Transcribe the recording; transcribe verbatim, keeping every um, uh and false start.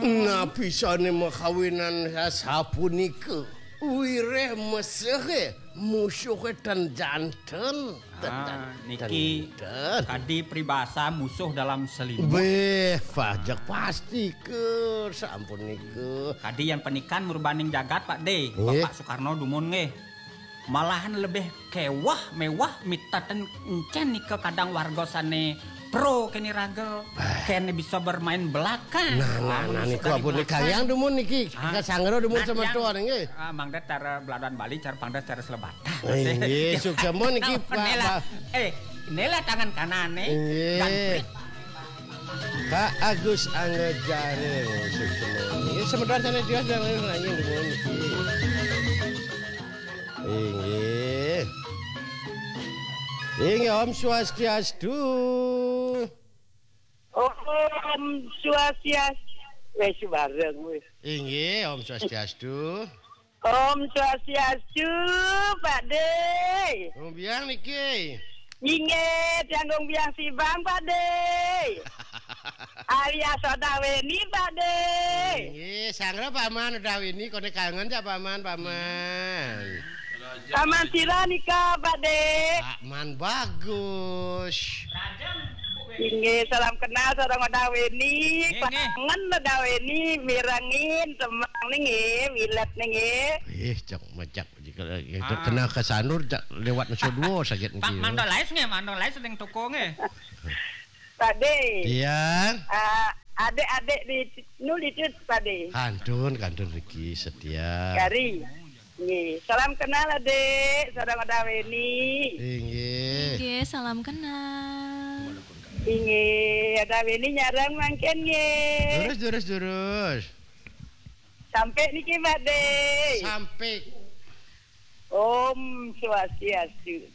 Napisane makawinan sapunika. Wiréh mesehe, musuhe ten janten. Ah, niki kadi pribasa musuh dalam selimut. Béh, pajek pasti ke, sampun nika. Kadi yan panikan murbaning jagat, Pak Dé. Nggih. Bapak Soekarno dumun nggih. Malahan lebih kéweh, méweh, mitaten encén nika kadang warga sané pro keni raga. Kéné bisa bermain belakang. Nah, nah, nah, niku ampun, kalian dumun niki. Ah. Ka sanggra dumun semeton, nggih. Ah, mangda cara beladan Bali, cara pangda cara selebatan. Nggih, suksma niki, Pak. Eh, inilah tangan kanan nih. Nggih. Ka Agus Anggajare, suksma. Nggih, semeton sané tios dan lain-lain dumun niki. Inggih. Inggih, Om Swastiastu. Om Swastiastu. Wis bareng wis. Inggih, Om Swastiastu. Om Swastiastu, Pak Dé. Ngombiang niki. Inggih, tiang ngombiang sibang, Pak Dé. Alias Odaweni, Pak Dé. Inggih, sanggra Paman Odaweni, kone kangen jak Paman, Paman. Paman sira nika, Pak Dé. Paman bagus. Inggih, salam kenal sareng Odaweni. Nggih, nggih. Kangen Odaweni, mirengin, temang nggih, wilet nggih. Ih, cok mejak. Ah. Kena ke Sanur, jak lewat Nusa Dua sakit niki. Pak Mandor Lais nggih, Mandor Lais ning toko nggih. Pak Dé. Iya. Ah, adik-adik di nuli itu, Pak Dé. Kantun, kantun riki setia. Kari. Nggih, salam kenal, Adik. Sareng Odaweni. Inggih. Inggih, salam kenal. Inggih, Odaweni nyareng mangkin nggih. Durus, durus, durus. Sampai niki, Pak Dé. Sampai. Om Swastiastu.